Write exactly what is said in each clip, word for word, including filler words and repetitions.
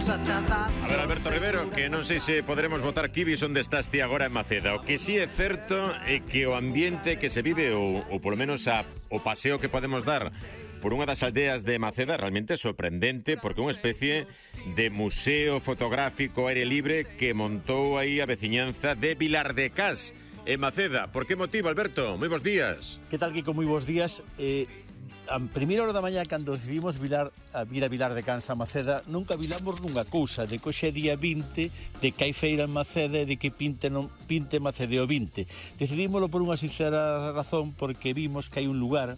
A ver, Alberto Rivero, que non sei se poderemos votar kibis onde estás ti agora en Maceda. O que sí é certo é que o ambiente que se vive, ou, ou polo menos a, o paseo que podemos dar por unha das aldeas de Maceda, realmente é sorprendente, porque é unha especie de museo fotográfico aire libre que montou aí a veciñanza de Vilar de Cas, en Maceda. Por que motivo, Alberto? Moi bons días. Que tal, Kiko? Moi bons días. Eh, a primeira hora da mañá, cando decidimos vilar, a vir a Vilar de Cans a Maceda, nunca vilamos nunha cousa, de que hoxe é día vinte, de que hai feira en Maceda e de que pinte, non, pinte Maceda o vinte. Decidímoslo por unha sincera razón, porque vimos que hai un lugar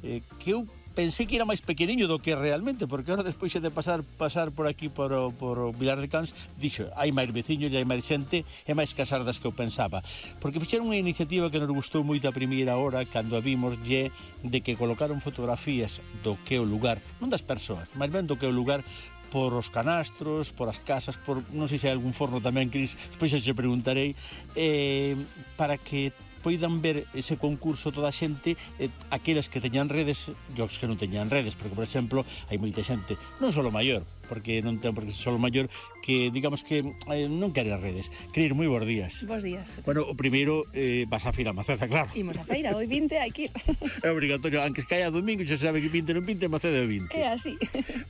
eh, que eu pensei que era máis pequeniño do que realmente, porque ahora despois de pasar pasar por aquí por, por Vilar de Cans, dixo, hai máis veciños e hai máis xente e máis casar das que eu pensaba, porque fixeron unha iniciativa que nos gustou moito a primeira hora cando a vimos, lle de que colocaron fotografías do que é o lugar, non das persoas, máis ben do que é o lugar, por os canastros, por as casas, por non sei se hai algún forno tamén, Cris, despois xa te preguntarei, eh, para que poidan ver ese concurso toda a xente, eh, aqueles que teñan redes e os que non teñan redes, porque, por exemplo, hai moita xente, non só maior, porque non ten por que ser só maior, que, digamos que eh, non quere as redes. Cris, moi bons días. Bons días. Bueno, o primeiro, eh, vas a feira a Maceda, claro. Imos a feira, hoy vinte, hai que ir. É obrigatorio, aunque caia domingo, xa sabe que vinte non vinte, Maceda é vinte. É así.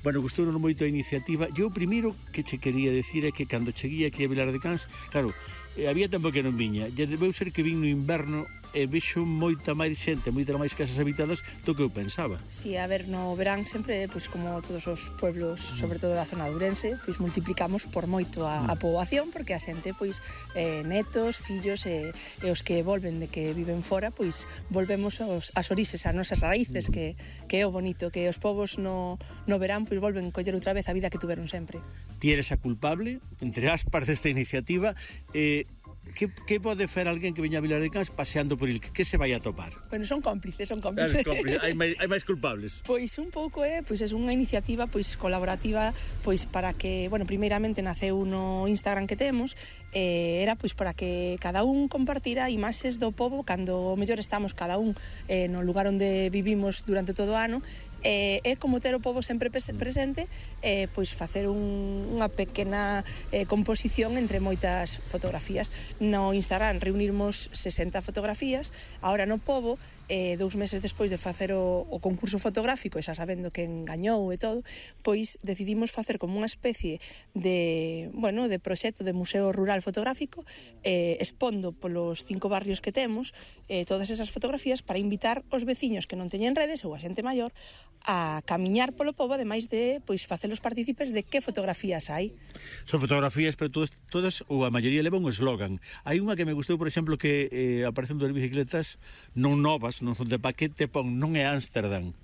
Bueno, gustounos moito a iniciativa. Eu o primeiro que che quería decir é que cando cheguei aquí a Vilar de Cans, claro, eh, había tempo que non viña, e debeu ser que vin no inverno e vexo moita máis xente, moita máis casas habitadas do que eu pensaba. Si, sí, a ver, no verán sempre, pois, como todos os pueblos, sobre todo da zona de Ourense, pois multiplicamos por moito a, a poboación, porque a xente, pois, eh, netos, fillos e, e os que volven de que viven fora, pois volvemos aos, as orixes, as nosas raíces, que, que é o bonito, que os povos no, no verán, pois volven coller outra vez a vida que tuveron sempre. Ti eres a culpable, entre aspas, desta iniciativa. eh, Que, que pode fer alguén que veña a Vilar de Cans paseando por il? Que, que se vai a topar? Bueno, son cómplices, son cómplices. cómplices. Hai, máis, hai máis culpables. Pois un pouco é, pois é unha iniciativa pois colaborativa, pois para que, bueno, primeiramente naceu no Instagram que temos, eh, era pois para que cada un compartira imaxes do pobo cando mellor estamos cada un eh, no lugar onde vivimos durante todo o ano. É eh, como ter o pobo sempre presente, eh, pois facer un, unha pequena eh, composición entre moitas fotografías. No Instagram reunirmos sesenta fotografías, ahora no pobo, eh, dous meses despois de facer o, o concurso fotográfico, e xa sabendo que engañou e todo, pois decidimos facer como unha especie de, bueno, de proxecto de museo rural fotográfico, eh, expondo polos cinco barrios que temos eh, todas esas fotografías para invitar os veciños que non teñen redes ou a xente maior a camiñar polo pobo, ademais de pois facelos partícipes de que fotografías hai. Son fotografías, pero todas, todas ou a maioría levan un eslogan. Hai unha que me gustou, por exemplo, que eh, aparecen dos bicicletas non novas, non son de paquete, pon non é Ámsterdam.